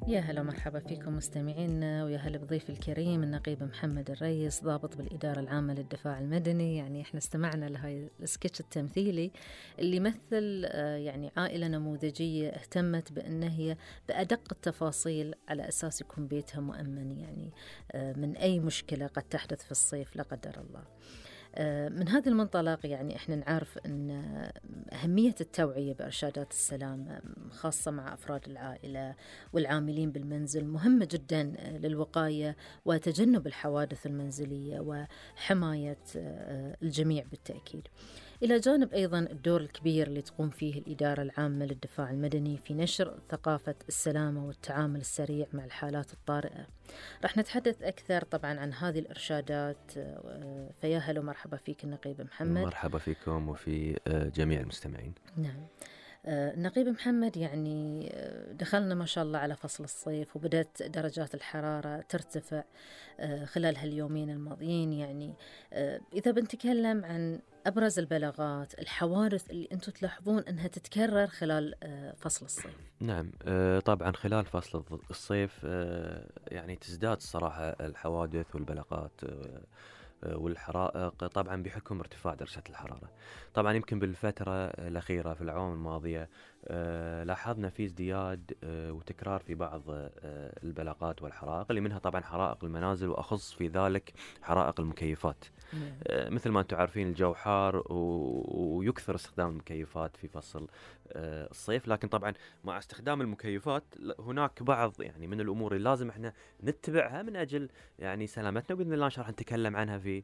يا هلا مرحبا فيكم مستمعينا، ويا هلا بضيف الكريم النقيب محمد الريس ضابط بالإدارة العامة للدفاع المدني. يعني احنا استمعنا لهاي السكتش التمثيلي اللي يمثل يعني عائلة نموذجية اهتمت بأن هي بأدق التفاصيل على أساس يكون بيتها مؤمن، يعني من أي مشكلة قد تحدث في الصيف لا قدر الله. من هذا المنطلق يعني احنا نعرف ان أهمية التوعية بإرشادات السلامة خاصة مع أفراد العائلة والعاملين بالمنزل مهمة جدا للوقاية وتجنب الحوادث المنزلية وحماية الجميع بالتأكيد، إلى جانب أيضا الدور الكبير اللي تقوم فيه الإدارة العامة للدفاع المدني في نشر ثقافة السلامة والتعامل السريع مع الحالات الطارئة. رح نتحدث أكثر طبعا عن هذه الإرشادات، فيا هلا ومرحبا فيك النقيب محمد. مرحبا فيكم وفي جميع المستمعين. نعم، النقيب محمد، يعني دخلنا ما شاء الله على فصل الصيف وبدأت درجات الحرارة ترتفع خلال هاليومين الماضيين. يعني إذا بنتكلم عن أبرز البلاغات الحوادث اللي أنتم تلاحظون أنها تتكرر خلال فصل الصيف. نعم، طبعا خلال فصل الصيف يعني تزداد الصراحة الحوادث والبلاغات والحرائق طبعا بحكم ارتفاع درجة الحرارة. طبعا يمكن بالفترة الأخيرة في الأعوام الماضية لاحظنا في ازدياد وتكرار في بعض البلاغات والحرائق، اللي منها طبعا حرائق المنازل، وأخص في ذلك حرائق المكيفات. مثل ما أنتم عارفين الجو حار ويكثر استخدام المكيفات في فصل الصيف، لكن طبعا مع استخدام المكيفات هناك بعض يعني من الأمور اللي لازم احنا نتبعها من أجل يعني سلامتنا، وبإذن الله إن شاء الله نتكلم عنها في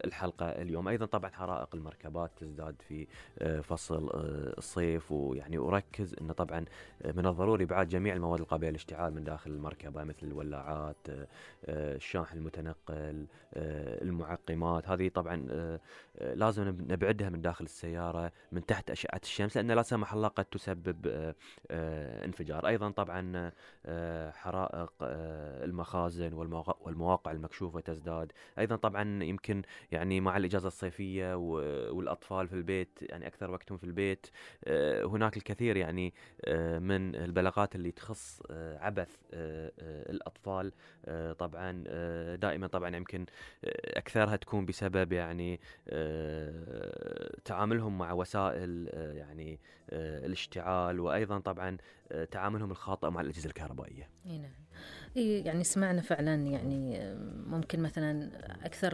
الحلقة اليوم. أيضا طبعا حرائق المركبات تزداد في فصل الصيف، ويعني أركز أنه طبعا من الضروري بعد جميع المواد القابلة للاشتعال من داخل المركبة، مثل الولاعات، الشاحن المتنقل، المعقمات. هذه طبعا لازم نبعدها من داخل السيارة من تحت أشعة الشمس، لأن لا سمح الله قد تسبب انفجار. أيضا طبعا حرائق المخازن والمواقع المكشوفة تزداد. أيضا طبعا يمكن يعني مع الإجازة الصيفية والأطفال في البيت، يعني أكثر وقتهم في البيت، هناك الكثير يعني من البلاغات اللي تخص عبث الأطفال. طبعا دائما طبعا يمكن أكثرها تكون بسبب يعني تعاملهم مع وسائل يعني الاشتعال، وأيضا طبعا تعاملهم الخاطئ مع الأجهزة الكهربائية. نعم، يعني سمعنا فعلا يعني ممكن مثلا أكثر